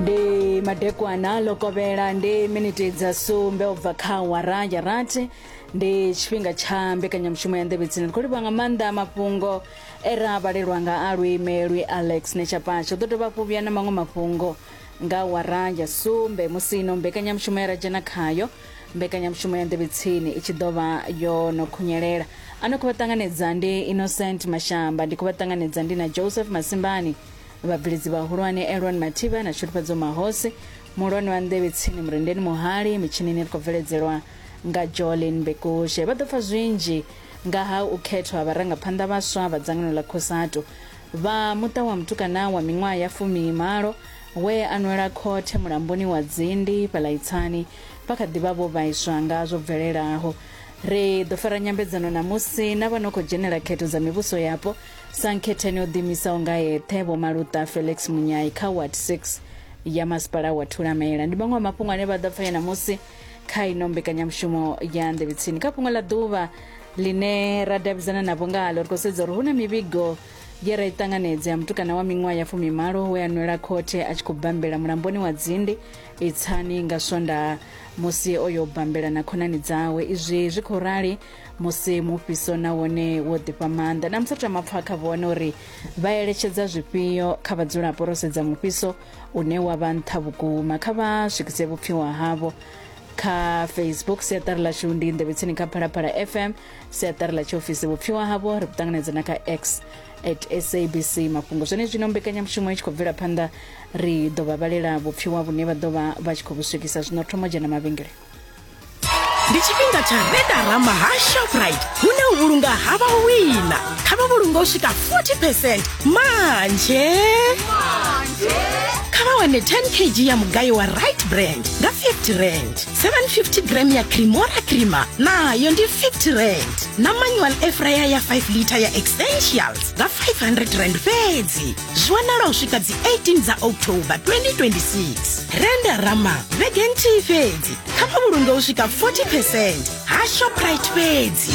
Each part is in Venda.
Ndi madekwana ḽo kovhela ndi miniti dza sumbe u bva kha awara ya rathi, ndi tshifhinga tsha mbekanyamushumo ya nḓevhe tsini. Ri khou livhuwa nga maanḓa mafhungo e ra vhalelwa nga a luimelwi Alex Netshapatsha. U ḓo dovha hafhu vhuya na maṅwe mafhungo nga awara ya sumbe musi ino mbekanyamushumo ya ra dzhena khayo, mbekanyamushumo ya nḓevhe tsini i tshi ḓo vha yo no khunyelela. A no khou vha ṱanganedza ndi Innocent Mashamba, ndi khou vha ṱanganedza ndi na Joseph Masimbani, vhabveledzi vhahulwane Elron Mathivha na Shudufhadzo Mahosi, muhulwane wa nḓevhe tsini Murendeni Muhali, mitshinini ri khou bveledzelwa nga Jolin Bekushe. Vha ḓo pfa zwinzhi nga ha u khethwa ha vharangaphanḓa vhaswa vha dzangano ḽa Cosatu. Vha muṱa wa mutukana wa miṅwaha ya 18 we a nwela khothe mulamboni wa Dzindi fhaḽa Itsani vha kha ḓi vha vho vhaiswa nga zwo bvelelaho. Ri ḓo fara nyambedzano ṋamusi na vha no khou dzhenela khetho dza mivhuso yapo sa nkhetheni o ḓiimisaho nga eṱhe Vho Maluta Felix Munyai kha Ward 6 ya masipala wa Thulamela. Ndi maṅwe a mafhungo ane vha ḓo pfa ṋamusi kha ino mbekanyamushumo ya Nḓevhe Tsini. Kha fhungo ḽa ḓuvha ḽine ra davhidzana navho ngalo, ri khou sedza uri hu na mivhigo ye ra i ṱanganedza ya mutukana wa miṅwaha ya 18 we a nwela khothe a tshi khou bambela mulamboni wa Dzindi Itsani nga Swondaha musi o yo bambela na khonani dzawe. Izwi zwi khou rali musi mufhiso na wone wo ḓifha maanḓa. Na musi ri tama pfa kha vhone uri vha eletshedza zwifhio kha vhadzulapo ro sedza mufhiso une wa vha nṱha vhukuma. Kha vha swikise vhupfiwa havho kha Facebook, siaṱari ḽashu ndi Nḓevhe Tsini kha Phalaphala FM, siaṱari ḽa tshiofisi. Vhupfiwa havho ri vhu ṱanganedza na kha X at SABC Mafhungo. Zwenezwino mbekanyamushumo i tshi khou bvela phanḓa, ri ḓo vha vhalela vhupfiwa vhune vha ḓo vha vha tshi khou vhu swikisa. Zwino thoma dzhena mavhengele. Ndi tshifhinga tsha Redarama ha Shoprite, hune u vhulunga ha vha u wina. Kha vha vhulunga u swika 40 percent manje. Kha vha wane 10 kg ya mugayo wa Right Brand nga 50 rand, 750 gram ya Cremora creamer nayo ndi 50 rand, na manual air fryer ya 5 litre ya Essentials nga 500 rand fhedzi. Zwi wanala u swika dzi 18 dza October 2026. Renderama vhege nthihi fhedzi. Kha vha vhulunge u swika 40 percent ha Shoprite fhedzi.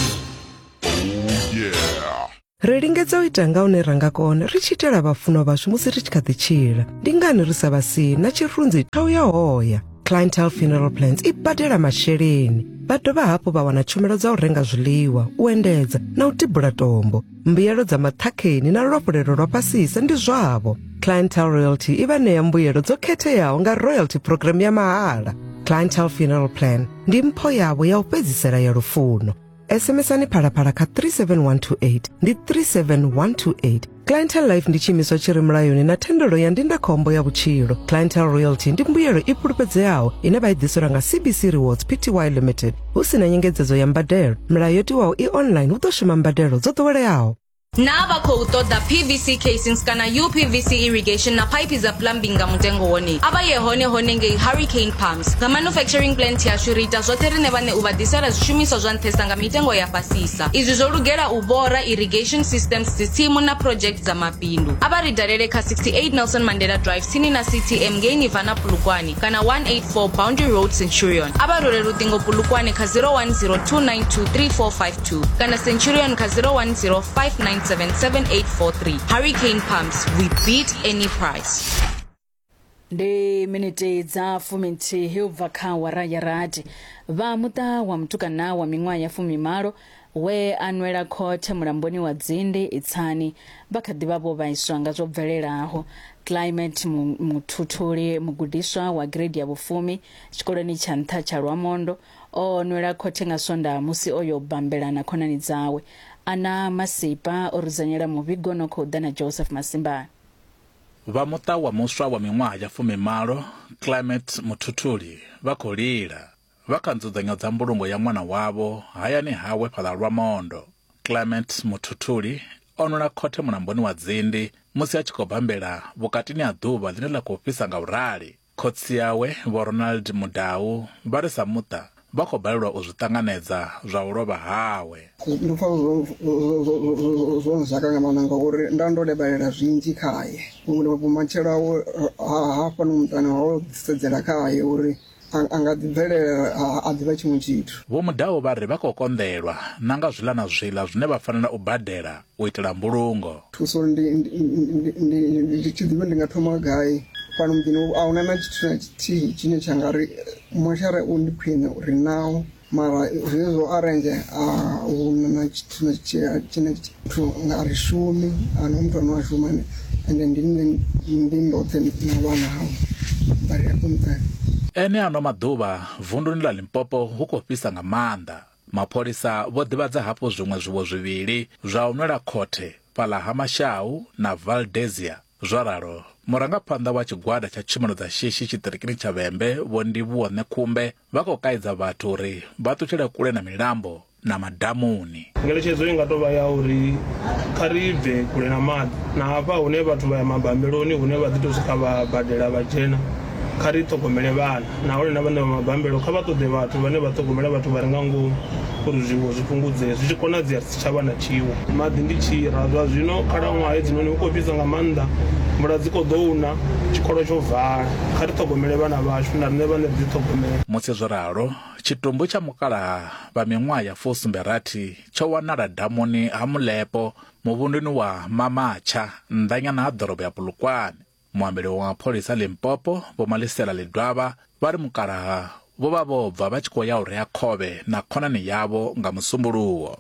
Ri lingedza u ita nga hune ra nga kona ri tshi itela vhafunwa vhashu musi ri tshi kha ḓi tshila. Ndi ngani ri sa vha sii na tshirunzi tsha u ya hoya? Clientele Funeral Plans i badela masheleni. Vha dovha hafhu vha wana tshumelo dza u renga zwiḽiwa, u endedza na u tibula tombo. Mbuyelo dza maṱhakheni na luafhulelo lwa fhasisa ndi zwavho. Clientele Royalty i vha ṋea mbuyelo dzo khetheaho nga royalty program ya mahala. Clientele Funeral Plan ndi mpho yavho ya u fhedzisela ya lufuno. SMSani Phalaphala kha 37128, ndi 37128. Clientele Life ndi tshiimiswa tshi re mulayoni na thendelo ya ndindakhombo ya vhutshilo. Clientele Royalty ndi mbuyelo i fhulufhedzeaho ine vha i ḓiselwa nga CBC Rewards Pty Limited hu si na nyengedzedzo ya mbadelo. Milayo yo tiwaho i online, hu ḓo shuma mbadelo dzo ḓoweleaho. Naa vha khou ṱoḓa PVC casings kana UPVC irrigation na phaiphi dza plumbing nga mutengo wone? A vha ye hone hone ngei Hurricane Pumps. Nga manufacturing plant yashu ri ita zwoṱhe riṋe vhaṋe u vha ḓisela zwishumiswa zwa nṱhesa nga mitengo ya fhasisa. Izwi zwo lugela u vhora irrigation systems, dzitsimu na project dza mabindu. A vha ri dalele kha 68 Nelson Mandela Drive tsini na CTM ngei Nirvana Polokwane kana 184 Boundary Road Centurion. A vha rwele luṱingo Polokwane kha 010 292 3452 kana Centurion kha 010 597 7843. Hurricane Pumps, we beat any price. Ndi miniti dza 11 u bva kha awara ya rathi. Vha muṱa wa mutukana wa miṅwaha ya 18 we a nwela khothe mulamboni wa Dzindi Itsani vha kha ḓi vha vho vhaiswa nga zwo bvelelaho. Climate Muthuthuli, mugudiswa wa grade ya vhufumi tshikoloni tsha nṱha tsha Lwamondo, o nwela khothe nga Swondaha musi o yo bambela na khonani dzawe. Ana Masipa o rudzanyela muvhigo no khou ḓa na Joseph Masimbane. Vha muṱa wa muswa wa miṅwaha ya 18, Climate Muthuthuli, vha khou lila vha kha nzudzanyo dza mbulungo ya ṅwana wavho hayani hawe fhaḽa Lwamondo. Clement Muthuthuli o nwela khothe mulamboni wa Dzindi musi a tshi khou bambela vhukatini ha ḓuvha ḽine ḽa khou fhisa nga u rali. Khotsi awe, Vho Ronald Mudau, vha ri sa muṱa vha khou balelwa u zwi ṱanganedza zwa u lovha hawe. Ndo pfa zwo nzhaka nga maanḓa ngauri nda ndo lavhelela zwinzhi khae, vhumatshelo hawe hafhano muṱani ho sedzela khae uri a nga ḓi bvelela a ḓivha tshiṅwe tshithu. Vho Mudau vha ri vha khou konḓelwa na nga zwiḽa na zwiḽa zwine vha fanela u badela u itela mbulungo. Thuso ndi ndi tshi ḓivha ndi nga thoma gai. Fhano muḓini a huna na tshithu na tshithihi tshine tsha nga ri moshara u ndi khwine ri nawo, mara zwine zwo arrange a huna na tshithu na tshithihi tshine muthu nga ri shumi, ahuna muthu ane a shuma, ende ndi nṋe ndi ndoṱhe na vhana havho vha ri afho muṱani. Ene ano maḓuvha vunduni ḽa Limpopo hu khou fhisa nga maanḓa. Mapholisa vho ḓivhadza hafhu zwiṅwe zwiwo zwivhili zwa u nwela khothe fhaḽa ha Mashau na Valdezia. Zwo ralo, murangaphanḓa wa tshigwada tsha tshumelo dza shishi tshiṱirikini tsha Vhembe Vho Ndivhuwo Ṋekhumbe vha khou kaidza vhathu uri vha ṱutshele kule na milambo na madamuni. Ngeletshedzo i nga tou vha ya uri kha ri bve kule na maḓi, na hafha hune vhathu vha ya mabambeloni hune vha ḓi tou swika vha badela vha dzhena, kha ri ṱhogomele vhana, nahone na vhaṋe vha mabambelo kha vha ṱoḓe vhathu vhane vha ṱhogomela vhathu vha re nga ngomu uri zwiwo zwi fhungudzee, zwi tshi konadzea ri si tsha vha na tshiwo. Maḓi ndi tshira, zwa zwino khalaṅwaha hedzinoni hu khou fhisa nga maanḓa, mvula dzi khou ḓo na, tshikolo tsho vala, kha ri ṱhogomele vhana vhashu na riṋe vhaṋe ri ḓi ṱhogomele. Musi zwo ralo, tshitumbu tsha mukalaha vha miṅwaha ya 76 tsho wanala damuni ha Mulepo muvhunduni wa Mamatsha nnḓanyana ha ḓorobo ya Polokwane. Muambeli wa mapholisa Limpopo Vho Malisela Ledwaba vha ri mukalaha vho vha vho bva vha tshi khou ya u rea khovhe na khonani yavho nga Musumbuluwo.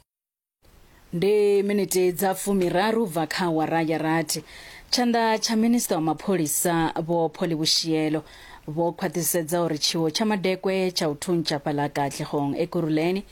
Ndi miniti dza 30 bva kha awara ya rathi. Tshanḓa tsha minista wa mapholisa Vho Polly Boshielo vho khwaṱhisedza uri tshiwo tsha madekwe tsha u thuntsha fhaḽa Katlehong Ekurhuleni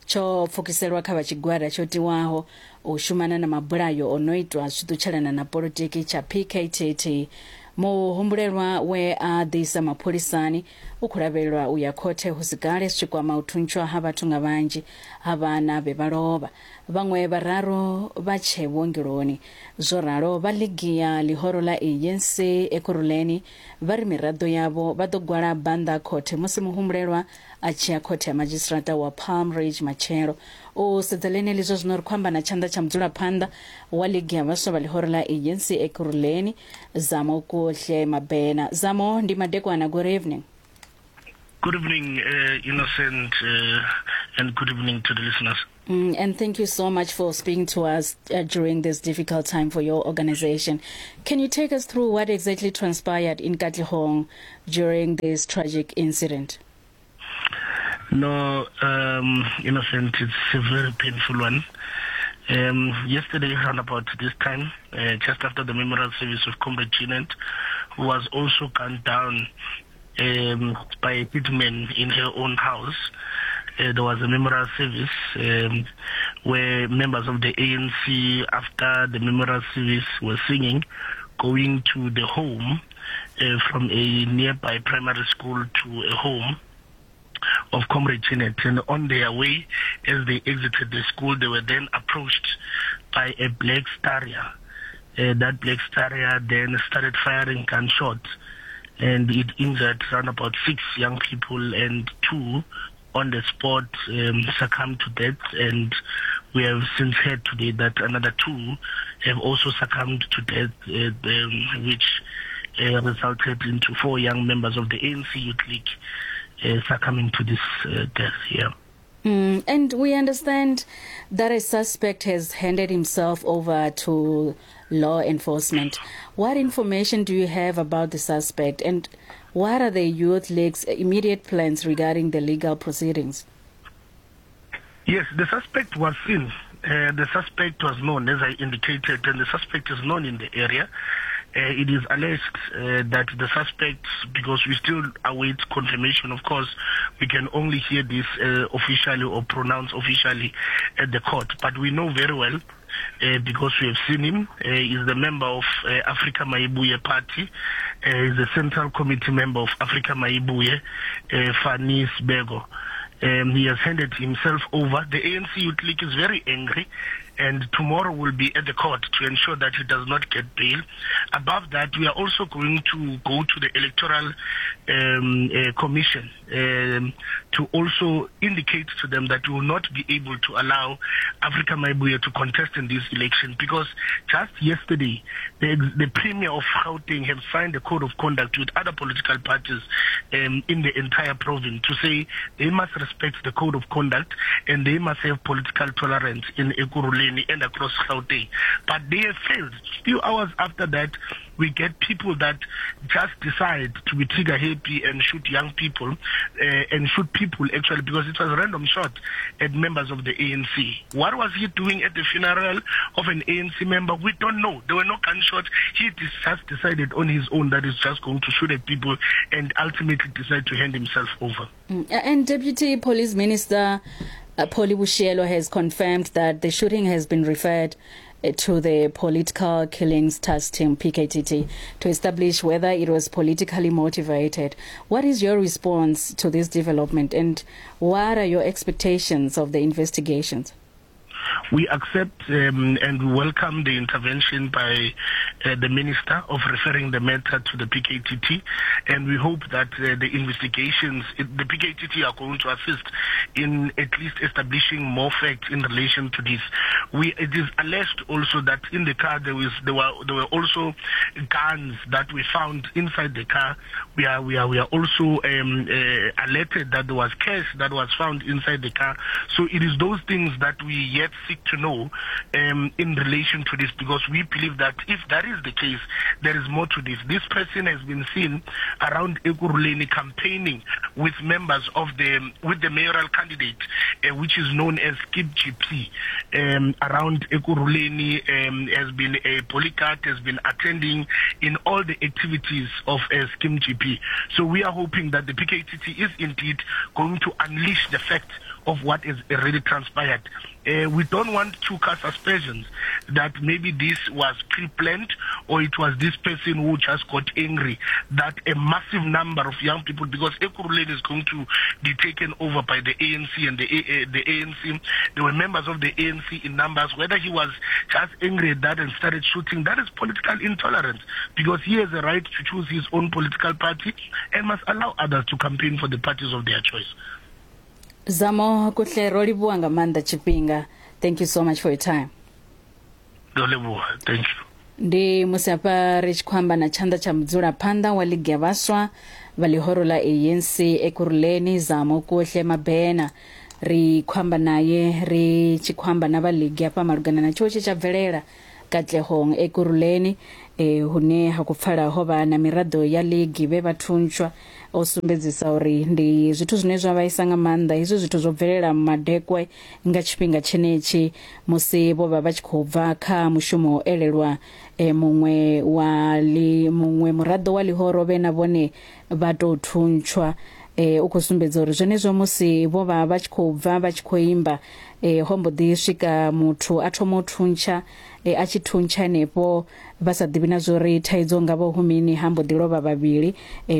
tsho pfukiselwa kha vha tshigwada tsho tiwaho u shumana na mabulayo o no itwa zwi tshi ṱutshelana na polotiki tsha PKTT. Muhumbulelwa we a ḓiisa mapholisani u khou lavhelelwa u ya khothe hu si kale zwi tshi kwama u thuntshwa ha vhathu nga vhanzhi ha vhana vhe vha lovha. Vhaṅwe vhararu vha tshe vhuongeloni. Zwo ralo, vha ligi ya ḽihoro ḽa ANC Ekurhuleni vha ri miraḓo yavho vha ḓo gwala bannda khothe musi muhumbulelwa a tshi ya khothe ya madzhisiṱiraṱa wa Palm Ridge matshelo. U sedza ḽeneḽi zwa zwino ri khou amba na tshanḓa tsha mudzulaphanḓa wa ligi ya vhaswa vha ḽihoro ḽa ANC Ekurhuleni, Zamo Kuhle Mabena. Zamo, ndi madekwana, good evening. Good evening, Innocent, and good evening to the listeners. And thank you so much for speaking to us during this difficult time for your organization. Can you take us through what exactly transpired in Katlehong during this tragic incident? No, Innocent, it's a very painful one. Yesterday, around about this time, just after the memorial service of Comrade Jeanette, who was also gunned down by a hitman in her own house, there was a memorial service where members of the ANC, after the memorial service, were singing, going to the home from a nearby primary school to a home of Comrade Jeanette. And on their way, as they exited the school, they were then approached by a black Staria. That black Staria then started firing gunshots, and it injured around about 6 young people, and 2 on the spot succumbed to death. And we have since heard today that another 2 have also succumbed to death, which resulted into 4 young members of the ANC Youth League succumbing to this death here. And we understand that a suspect has handed himself over to law enforcement. What information do you have about the suspect, and what are the Youth League's immediate plans regarding the legal proceedings? Yes, the suspect was seen. The suspect was known, as I indicated, and the suspect is known in the area. It is alleged that the suspect, because we still await confirmation, of course, we can only hear this officially or pronounce officially at the court. But we know very well, because we have seen him, he's the member of Africa Mayibuye Party, he's the Central Committee member of Africa Mayibuye, Fani Sibeko. He has handed himself over. The ANC Youth League is very angry, and tomorrow we'll be at the court to ensure that he does not get bail. Above that, we are also going to go to the Electoral Commission to also indicate to them that we will not be able to allow Africa Mayibuye to contest in this election, because just yesterday, the Premier of Gauteng have signed a code of conduct with other political parties in the entire province to say they must respect the code of conduct and they must have political tolerance in Ekurhuleni. Ekurhuleni and across Gauteng. But they have failed. Few hours after that, we get people that just decide to be trigger happy and shoot young people, and shoot people actually, because it was a random shot at members of the ANC. What was he doing at the funeral of an ANC member? We don't know. There were no gunshots. He just decided on his own that he's just going to shoot at people and ultimately decide to hand himself over. And Deputy Police Minister Polly Boshielo has confirmed that the shooting has been referred to the Political Killings Task Team, PKTT, to establish whether it was politically motivated. What is your response to this development, and what are your expectations of the investigations? We accept and welcome the intervention by the Minister of referring the matter to the PKTT, and we hope that the investigations, the PKTT are going to assist in at least establishing more facts in relation to this. It is alleged also that in the car there were also guns that we found inside the car. We are also alerted that there was cash that was found inside the car. So it is those things that we yet seek to know in relation to this, because we believe that if that is the case, there is more to this. This person has been seen around Ekurhuleni campaigning with members of with the mayoral candidate, which is known as Skip GP, around Ekurhuleni, has been a polycat, has been attending in all the activities of Skim GP. So we are hoping that the PKTT is indeed going to unleash the fact of what is already transpired. We don't want to cast aspersions that maybe this was pre-planned or it was this person who just got angry that a massive number of young people, because Ekurhuleni is going to be taken over by the ANC and the ANC. There were members of the ANC in numbers. Whether he was just angry at that and started shooting, that is political intolerance, because he has a right to choose his own political party and must allow others to campaign for the parties of their choice. Zamo Kuhle, ro livhuwa nga maanḓa tshifhinga. Thank you so much for your time. Ndo livhuwa, thank you. Ndi musi hafha ri tshi khou amba na tshanḓa tsha mudzulaphanḓa wa ligi ya vhaswa vha ḽihoro ḽa ANC Ekurhuleni, Zamo Kuhle Mabena. Ri khou amba naye ri tshi khou amba na vha ligi hafha malugana na tshiwo tshe tsha bvelela Katlehong Ekurhuleni, hune ha khou pfala ho vha na miraḓo ya ligi vhe vha thuntshwa. O sumbedzisa uri ndi zwithu zwine zwa vhaisa nga maanḓa hezwi zwithu zwo bvelela madekwe nga tshifhinga tshenetshi musi vho vha vha tshi khou bva kha mushumo elelwa muṅwe wa muṅwe muraḓo wa ḽihoro vhe na vhone vha tou thuntshwa. U khou sumbedza uri zwenezwo musi vho vha vha tshi khou bva vha tshi khou imba, ho mbo ḓi swika muthu a thoma u thuntsha, a tshi thuntsha henefho vha sa ḓivhi na zwori thaidzo nga vho humini, ha mbo ḓi lovha vhavhili.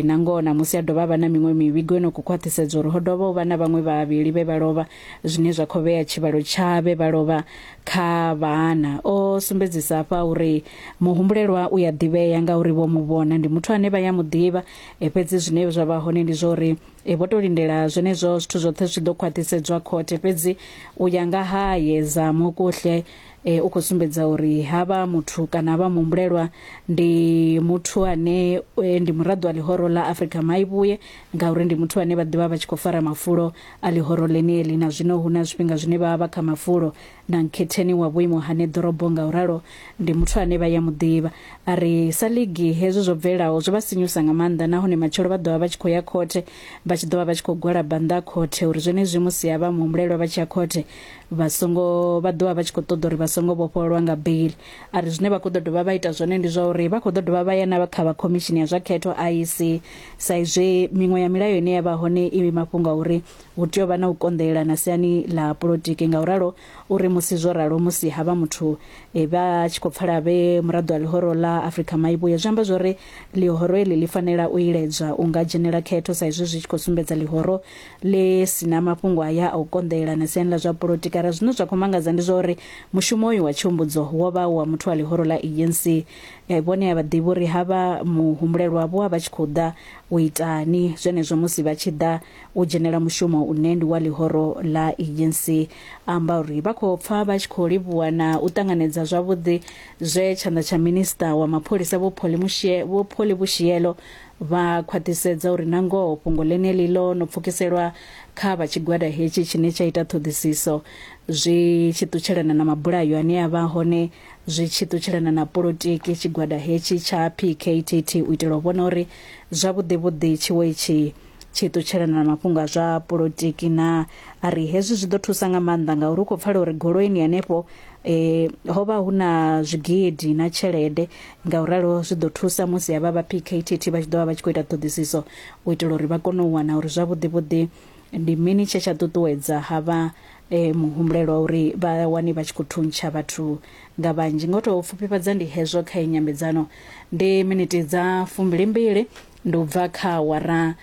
Na ngoho na musi a dovha vha na miṅwe mivhigo ino khou khwaṱhisedza uri ho dovha u vha na vhaṅwe vhavhili vhe vha lovha, zwine zwa khou vhea tshivhalo tsha vhe vha lovha kha vhana. O sumbedzisa hafha uri muhumbulelwa u ya ḓivhea ngauri vho mu vhona, ndi muthu ane vha ya mu ḓivha, fhedzi zwine zwa vha hone ndi zwa uri vho to lindela zwenezwo zwithu zwoṱhe zwi ḓo khwaṱhisedzwa khothe. Fhedzi u ya nga haye Zamo Kuhle, u khou sumbedza uri havha muthu kana havha muhumbulelwa ndi muthu ane ndi muraḓo wa ḽihoro ḽa Afrika Maivhuye, ngauri ndi muthu ane vha ḓivha vha tshi khou fara mafulo a ḽihoro ḽeneḽi, na zwino hu na zwifhinga zwine vha vha kha mafulo na nkhetheni wa vhuimo ha ḓorobo, nga uralo ndi muthu ane vha ya muḓivha. A ri sa ligi hezwo zwo bvelelaho zwo vha sinyusa nga maanḓa, nahone matshelo vha ḓovha vha tshi khou ya khothe, vha tshi ḓovha vha tshi khou gwalaba nnḓa khothe uri zwenezwi musi havha muhumbulelwa vha tshi ya khothe vha songo vha ḓovha vha tshi khou ṱoḓa uri vha songo vhofhololwa nga bail. A ri zwine vha khou ḓo dovha vha ita zwone ndi zwa uri vha khou ḓo dovha vha ya na kha vha khomishini ya zwa khetho IEC, sa izwi miṅwe ya milayo ine ya vha hone i mafhungo a uri hu tea u vha na u konḓelelana siani ḽa polotiki. Ngauralo uri musi zwo ralo musi havha muthu vha tshi khou pfala vhe muraḓo wa ḽihoro ḽa Afrika Maivhuye, zwi amba zwori ḽihoro eḽi ḽi fanela u iledzwa u nga dzhenela khetho, sa izwi zwi tshi khou sumbedza ḽihoro ḽi sina mafhungo aya a u konḓelelana siani ḽa zwa polotiki. Ara zwine zwa khou mangadza ndi zwa uri mushumo uyu wa tshihumbudzo wo vha wa muthu wa ḽihoro ḽa ANC. Vhone a vha ḓivhi uri havha muhumbulelwa vho vha tshi khou ḓa u itani zwenezwo musi vha tshi ḓa u dzhenela mushumo une ndi wa ḽihoro ḽa ANC. Amba uri vha khou pfa vha tshi khou livhuwa na u ṱanganedza zwavhuḓi zwe tshanḓa tsha minista wa mapholisa Vho Polly Boshielo Vha khwaṱhisedza uri nangoho fhungo ḽeneḽi ḽo no pfukiselwa kha vha tshigwada hetshi tshine tsha ita ṱhoḓisiso zwi tshi ṱutshelana na mabulayo ane a vha hone zwi tshi ṱutshelana na polotiki tshigwada hetshi tsha PKTT u itela u vhona uri zwavhuḓi vhuḓi tshiwo itshi tshi ṱutshelana na mafhungo a zwa polotiki na a ri hezwi zwi ḓo thusa nga maanḓa ngauri u khou pfala uri goloini hanefho e, ho vha hu na zwigidi na tshelede ngauralo zwi ḓo thusa musi havha vha PKTT vha tshi ḓo vha vha tshi khou ita ṱhoḓisiso u itela uri vha kone u wana uri zwavhuḓi vhuḓi ndi mini tshe tsha ṱuṱuwedza havha e, muhumbulelwa uri vha wane vha tshi khou thuntsha vhathu nga vhanzhi. Ngo tou pfufhifhadza ndi hezwo kha nyambedzano ndi miniti dza 22 ndi u bva kha awara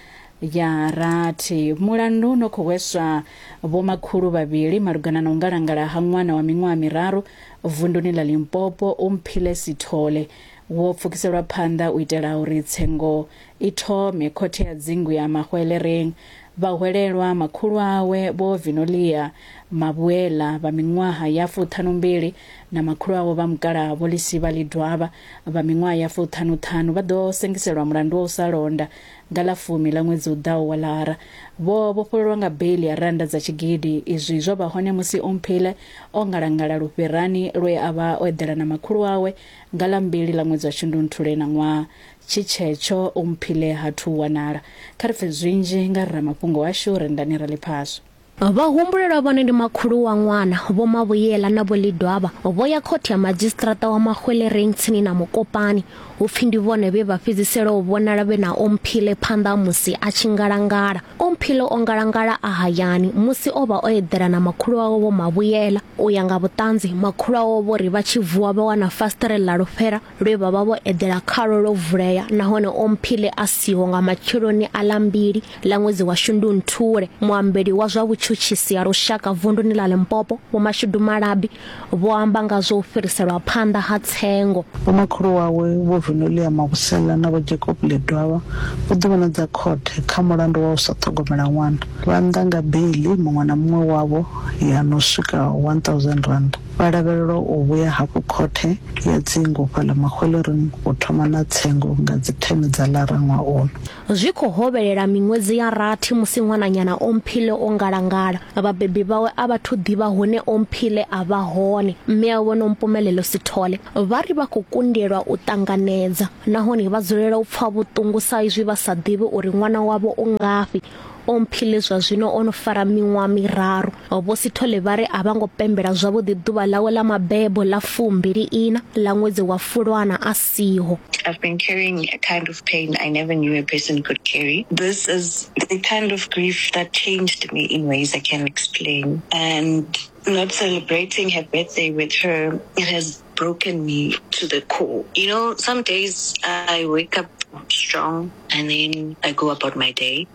ya rathi. Mulandu no khou hweswa vhomakhulu vhavhili malugana na u ngalangala ha ṅwana wa miṅwaha miraru vunduni ḽa Limpopo Umphile Sithole wo pfukiselwa phanḓa u itela uri tsengo i thome khothe ya dzingu ya Mahwelereng. Vhahwelelwa makhulu awe Vho Vinolia Mabuela vha miṅwaha ya 52 na makhulu awe vha mukalaha Vho Lisiba Lidwaba vha miṅwaha ya 55 vha ḓo sengiselwa mulandu wa u sa londa nga ḽa fumi ḽa ṅwedzi u ḓaho wa Lara. Vho vhofhololwa nga beiḽi ya rannda dza tshigidi. Izwi zwo vha hone musi Omphile o ngalangala lufherani lwe a vha o eḓela na makhulu awe nga ḽa mbili ḽa ṅwedzi wa Shundunthule na ṅwaha. Tshi tshetsho Omphile ha thu wanala. Kha ri pfe zwinzhi nga ramafhungo washu Rendani Raliphaswa. Vhahumbulelwa vhone ndi makhulu wa ṅwana, Vho Mavhuyela na Vho Lidwaba, vho ya khothe ya madzhisiṱiraṱa wa Mahwelereng tsini na Mokopane. Hu pfi ndi vhone vhe vha fhedzisela u vhonala vhe na Omphile phanḓa ha musi a tshi ngalangala. Omphile o ngalangala a hayani musi o vha o eḓela na makhulu wawe Vho Mavhuyela. U ya nga vhuṱanzi, makhulu awe vho ri vha tshi vuwa vha wana fasiṱere ḽa lufhera lwe vha vha vho eḓela khalwo lwo vulea nahone Omphile a siho nga matsheloni a ḽa mbili ḽa ṅwedzi wa Shundunthule. Muambeli wa zwa vhutshutshisi ha lushaka vunduni ḽa Limpopo, Vho Mashudu Malabi, vho amba nga zwa u fhiriselwa phanḓa ha tsengo. Vhomakhulu wawe Vho Vinolia Mabusela na Vho Jacob Ledwaba vho ḓivhonadza khothe kha mulandu wa u sa ṱhogomela ṅwana. Vha nnḓa nga beiḽi muṅwe na muṅwe wavho ya no swika R1000. Vha lavhelelwa u vhuya hafhu khothe ya dzingu fhaḽa Mahwelereng u thoma na tsengo nga dzi 10 dza Lara ṅwaha uno. Zwi khou hovhelela miṅwedzi ya rathi musi ṅwananyana Omphile o ngalangala. Vhabebi vhawe a vha thu ḓivha hune Omphile a vha hone. Mme awe Vho Nompumelelo Sithole vha ri vha khou kundelwa u ṱanganedza nahone vha dzulela u pfa vhuṱungu sa izwi vha sa ḓivhi uri ṅwana wavho u ngafhi. Omphile zwa zwino o no fara miṅwaha miraru. Vho Sithole vha ri a vha ngo pembela zwavhuḓi ḓuvha ḽawe ḽa mabebo ḽa 24 ḽa ṅwedzi wa Fulwana a siho. I've been carrying a kind of pain I never knew a person could carry. This is the kind of grief that changed me in ways I can't explain. And not celebrating her birthday with her, it has broken me to the core. You know, some days I wake up strong and then I go about my day.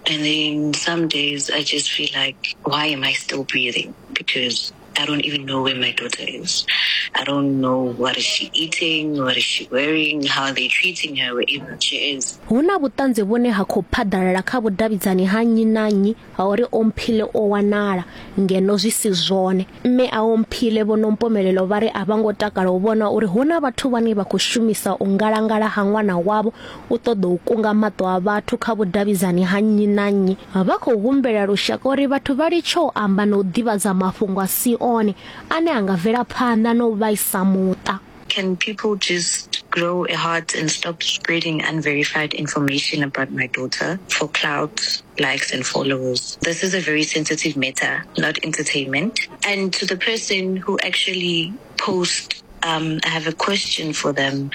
And then some days I just feel like, why am I still breathing? Because I don't even know where my daughter is. I don't know what is she eating, what is she wearing, how are they treating her wherever she is. Hu na vhuṱanzi vhune ha khou phaḓalala kha vhudavhidzani ha nnyi na nnyi ha uri Omphile o wanala, ngeno zwi si zwone. Mme a Omphile Vho Nompumelelo vha ri a vha ngo takala u vhona uri hu na vhathu vhane vha khou shumisa u ngalangala ha ṅwana wavho u ṱoḓa u kunga maṱo a vhathu kha vhudavhidzani ha nnyi na nnyi. Vha khou humbela lushaka uri vhathu vha litshe u amba na u ḓivhadza mafhungo a si one ane a nga bvela phanḓa na u vhaisa muṱa. Can people just grow a heart and stop spreading unverified information about my daughter for clout, likes and followers? This is a very sensitive matter, not entertainment. And to the person who actually posts, I have a question for them.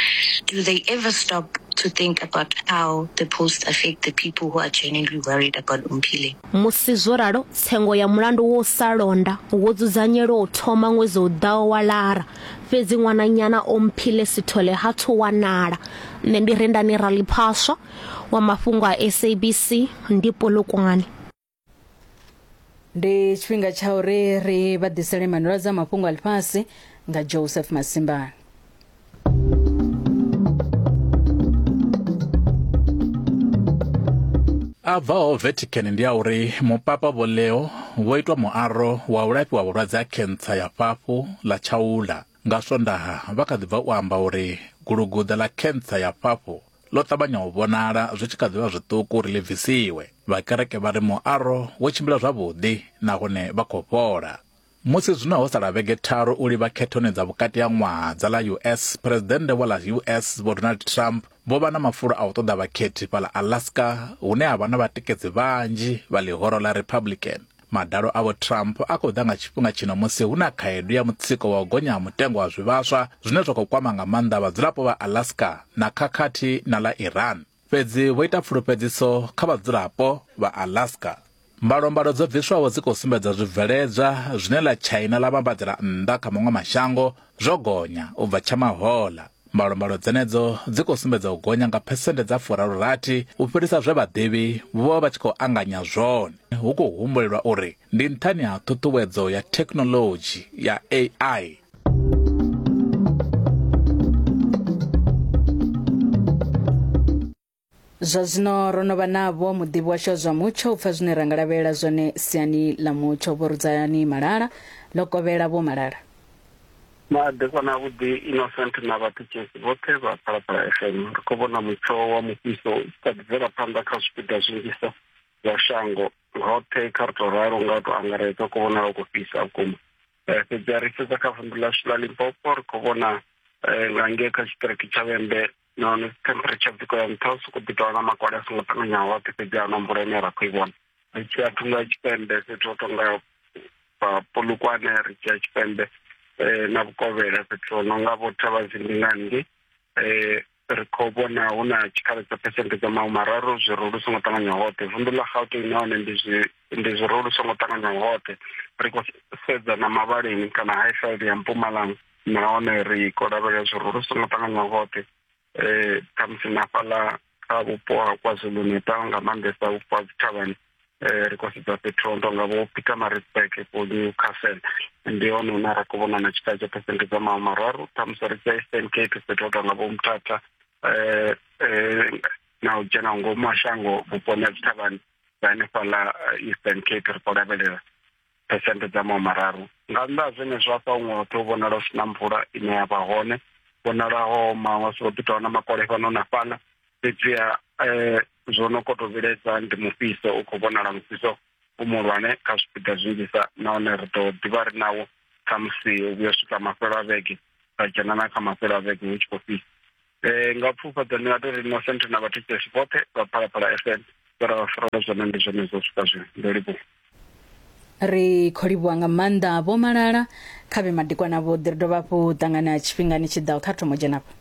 Do they ever stop to think about how the posts affect the people who are genuinely worried about Omphile? Musi zwo ralo, tsengo ya mulandu wa u sa londa wo dzudzanyelwa u thoma ṅwedzi u ḓaho wa Lara, fhedzi ṅwananyana Omphile Sithole ha thu wanala. Nṋe ndi Rendani Raliphaswa wa mafhungo a SABC ndi Polokwane. Ndi tshifhinga tsha uri ri vha ḓisele manwelwadze a mafhungo a ḽifhasi nga Joseph Masimbane. A bvaho Vatican ndi a uri mupapa Vho Leo vho itwa muaro wa u lafhiwa vhulwadze ha khentsa ya fhafhu ḽa tshaula. Nga Swondaha vha kha ḓi bva u amba uri guluguḓa ḽa khentsa ya fhafhu ḽo ṱavhanya u vhonala zwi tshi kha ḓi vha zwiṱuku uri ḽi bvisiwe. Vha kereke vha ri muaro wo tshimbila zwavhuḓi nahone vha khou fhola. Musi zwino ho sala vhege tharu u livha khethoni dza vhukati ha ṅwaha dza ḽa US, Phresidennde wa ḽa US Vho Donald Trump vho vha na mafulo a u ṱoḓa vhakhethi fhaḽa Alaska hune ha vha na vhatikedzi vhanzhi vha ḽihoro ḽa Republican. Madalo a Vho Trump a khou ḓa nga tshifhinga tshino musi hu na khaedu ya mutsiko wa u gonya ha mutengo wa zwivhaswa zwine zwa khou kwama nga maanḓa vhadzulapo vha Alaska na khakhathi na ḽa Iran. Fhedzi vho ita pfulufhedziso kha vhadzulapo vha Alaska. Mbalombalo dzo bviswaho dzi khou sumbedza zwibveledzwa zwine ḽa China ḽa vhambadzela nnḓa kha maṅwe mashango zwo gonya u bva tsha mahoḽa. Mbalombalo dzenedzo dzi khou sumbedza u gonya nga phesenthe dza 60 u fhirisa zwe vhaḓivhi vho vha vha tshi khou anganya zwone. Hu khou humbulelwa uri ndi nṱhani ha ṱhuṱhuwedzo ya thekhinoḽodzhi ya AI. Zwa zwino ro no vha navho muḓivhi washu wa zwa mutsho u pfa zwine ra nga lavhelela zwone siani ḽa mutsho. Vho Rudzani Malala, ḽo kovhela Vho Malala. Madekwana avhuḓi Innocent na vhathetshelesi vhoṱhe vha Phalaphala FM. Ri khou vhona mutsho wa mufhiso u tshi kha ḓi bvela phanḓa kha zwipiḓa zwinzhisa zwa shango hoṱhe, kha ri tou ralo nga u tou angaredza u khou vhonala u khou fhisa vhukuma. Fhedzi ri sedza kha vunḓu ḽashu ḽa Limpopo ri khou vhona nga ngei kha tshiṱiriki tsha Vhembe nahone temperature dzi khou ya nṱha hu sokou ḓi tovha na makole a songo ṱanganyaho oṱhe fhedzi a huna mvula ine ra khou i vhona. Ri tshi ya thungo ya tshipembe fhethu ho tonga Polokwane ri tshi ya tshipembe na vhukovhela fhethu ho no nga vho Thavhazimbi nga hangei ri khou vhona hu na tshikhala tsha phesenthe dza mahumararu zwirulu lu songo ṱanganywa hoṱhe. Vunḓu ḽa Gauteng nahone ndi zwi ndi zwirulu lu songo ṱanganywa hoṱhe. Ri khou sedza na Mavhaleni kana Highveld ya Mpumalanga nahone ri khou lavhelela zwirulu lu songo ṱanganywa hoṱhe. Khamusi na fhaḽa kha vhupo ha KwaZulu-Natal nga maanḓesa vhupo ha dzithavhani ri khou sedza fhethu ho tonga vho Pietermaritzburg, vho Newcastle ndi hone hune ra khou vhona na tshikhala tsha phesenthe dza mahumararu. Khamusi ri tshi ya Eastern Cape fhethu ho tonga vho Mthatha na u dzhena ngomu ha shango vhuponi ha dzithavhani dza hanefhaḽa Eastern Cape ri khou lavhelela phesenthe dza mahumararu. Nga nnḓa ha zwenezwo hafha huṅwe hoṱhe hu vhonala hu si na mvula ine ya vha hone, vhonala ho oma hu ḓi tovha na makole fhano na fhaḽa fhedziha zwo no koto vhilaedza ndi mufhiso u khou vhonala mufhiso u muhulwane kha zwipiḓa zwinzhisa nahone ri ḓo ḓivha ri nawo khamusi u vhuya u swika mafhelo a vhege ra dzhena na kha mafhelo a vhege hu tshi khou fhisa. Nga pfufhadzo ndi nga tou ri Innocent na vhathetshelesi vhoṱhe vha Phalaphala FM vhe ra vha farela zwone ndi zwone zwo swika zwino. Ndo livhuwa. Ri khou livhuwa nga maanḓa Vho Malala kha vhe madekwana avhuḓi. Ri dovha hafhu ṱangana tshifhingani tshi ḓaho kha ri thoma u dzhena afha.